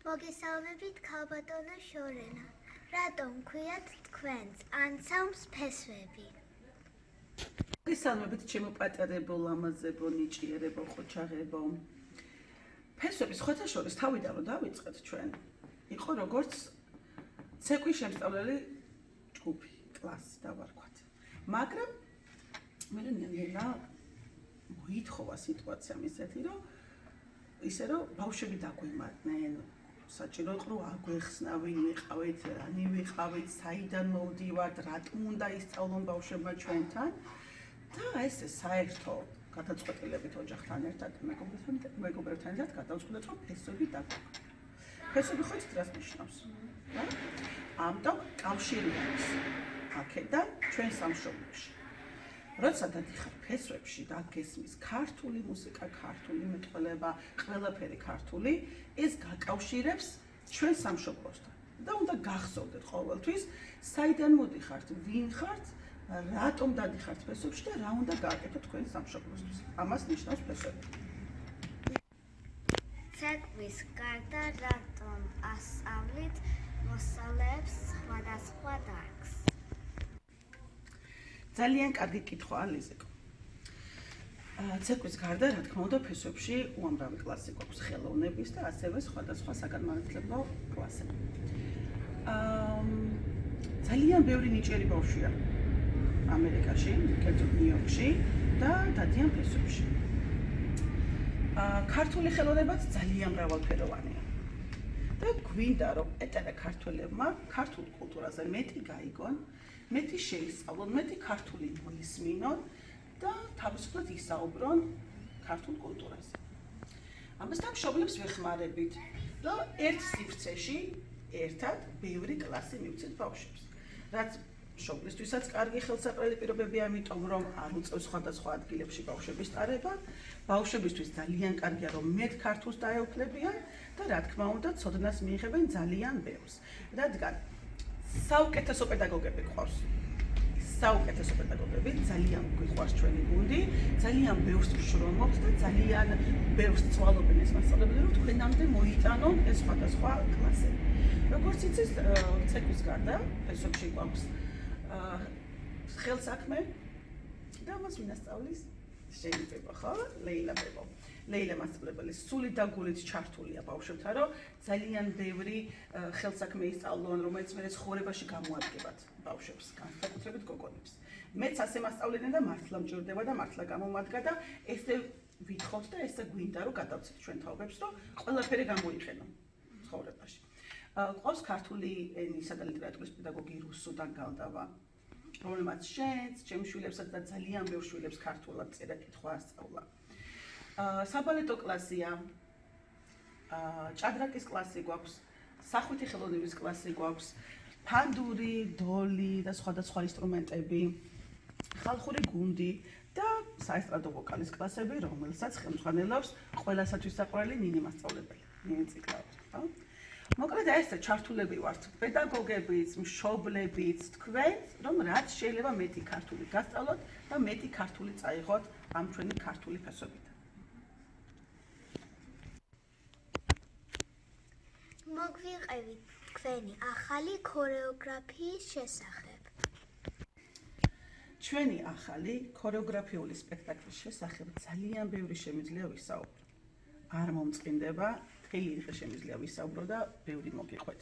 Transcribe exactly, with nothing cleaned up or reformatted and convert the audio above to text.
მოგესალმებით ქალბატონო შორენა. რატომ ქვიათ თქვენს ანსამბლს ფესვები? მოგესალმებით ჩემო პატარებო, ლამაზებო, ნიჭიერებო, ხოჩაღებო. ფესვების სხვათა შორის თავიდან რომ დავიწყეთ ჩვენ, იყო როგორც ცეკვის შემსწავლელი ჯგუფი, კლასი დავარქვათ. მაგრამ მე ნელა მოითხოვა სიტუაცია ისეთი, რომ ისე რომ ბავშვები დაგვემატნენ, საჭირო იყო რომ აგვეხსნა, ვინ ვიყავით, რანი ვიყავით, საიდან მოვდივართ, რატომ უნდა ისწავლონ ბავშვებმა ჩვენთან და ესე საერთო გადაწყვეტილებით ოჯახთან ერთად, მეგობრებთან ერთად გადავწყვეტეთ, რომ ფესვები დაგვაქვს. ფესვები ხო იცით რას ნიშნავს? ამიტომ კავშირი არის აქედან ჩვენ სამშობლოში. როცა დადიხარ ფესვებში და გესმის ქართული მუსიკა, ქართული მეტყველება, ყველაფერი ქართული, ეს გაკავშირებს ჩვენ სამშობლოსთან. და უნდა გახსოვდეთ ყოველთვის, საიდან მოდიხართ, ვინ ხართ, რატომ დადიხართ ფესვებში და რა უნდა გააკეთოთ თქვენ სამშობლოსთვის. ამას ნიშნავს ფესვები. ცეკვის გარდა რატომ ასწავლით მოსწავლეებს სხვადასხვა დარგს? ძალიან კარგი კითხვაა ლიზიკო. ცეკვის გარდა, რა თქმა უნდა, ფესვებში უამრავი კლასი გვაქვს ხელოვნების და ასევე სხვადასხვა საგანმანათლებლო კლასები. ძალიან ბევრი ნიჭიერი ბავშვია ამერიკაში, კერძოდ ნიუ-იორკში და დადიან ფესვებში. ქართული ხელოვნებაც ძალიან მრავალფეროვანია. და გვინდა რომ ეტანა ქართველებმა ქართულ კულტურაზე მეტი გაიგონ, მეტი შეისწავლონ, მეტი ქართული მოისმინონ და თავისუფლად ისაუბრონ ქართულ კულტურაზე. ამასთან მშობლებს ვეხმარებით, რომ ერთ სივრცეში ერთად ბევრი კლასი მივცეთ ბავშვებს. რაც მშობლისთვისაც კარგი ხელსაყრელი პირობებია, ამიტომ რომ არ უწევს სხვადასხვა ადგილებში ბავშვების ტარება, ბავშვებისთვის ძალიან კარგია რომ მეტ ქართულს დაეუფლებიან და რა თქმა უნდა, ცოდნას მიიღებენ ძალიან ბევრს. რადგან საუკეთესო პედაგოგები გვყავს. საუკეთესო პედაგოგები, ძალიან გვიყვარს ჩვენი გუნდი, ძალიან ბევრს ვშრომობთ და ძალიან ბევრს წვალობენ ეს მასწავლებლები, რომ თქვენამდე მოიტანონ ეს სხვადასხვა კლასები. როგორც იცით, ცეკვის გარდა ფესვებში გვაქვს ხელსაქმე და მას ვინასწავლის? შეიძლება ხო? ლეილა ბებო. ლეილა მასწავლებელი სული და გულით ჩართულია ბავშვებთან, რომ ძალიან ბევრი ხელსაქმე ისწავლონ, რომელიც მე ცხოვრებაში გამოადგებათ ბავშვებს, განსაკუთრებით გოგონებს. მეც ასე მასწავლდნენ და მართლა მჭირდება და მართლა გამომადგა და ესე ვითხოვთ და ესე გვინდა რომ გადავცეთ ჩვენ თაობებს, რომ ყველაფერი გამოიყენონ ცხოვრებაში. ყავს ქართული ენისა და ლიტერატურის პედაგოგი რუსუდან გალდავა, რომელმაც შენს, ჩემს შვილებსაც და ძალიან ბევრ შვილებს ქართულად წერა კითხვა ასწავლა. საბალეტო კლასია, ჭადრაკის კლასი გვაქვს, სახვითი ხელოვნების კლასი გვაქვს, ფანდური, დოლი და სხვადასხვა ინსტრუმენტები, ხალხური გუნდი და საესტრადო ვოკალის კლასები, რომელსაც ხელმძღვანელობს ყველასათვის საყვარელი ნინი მასწავლებელი, ნინი ციკლაური, ხო? მოკლედ ეს ჩართულები ვართ პედაგოგებიც, მშობლებიც, თქვენ, რომ რაც შეიძლება მეტი ქართული გასწავლოთ და მეტი ქართული წაიღოთ ამ ჩვენი ქართული ფესვებიდან. მოგვიყევით თქვენი ახალი ქორეოგრაფიის შესახებ. ჩვენი ახალი ქორეოგრაფიული სპექტაკლის შესახებ ძალიან ბევრი შემიძლია ვისაუბრო. არ მომწყინდება, მთელი დღე შემიძლია ვისაუბრო და ბევრი მოგიყვეთ.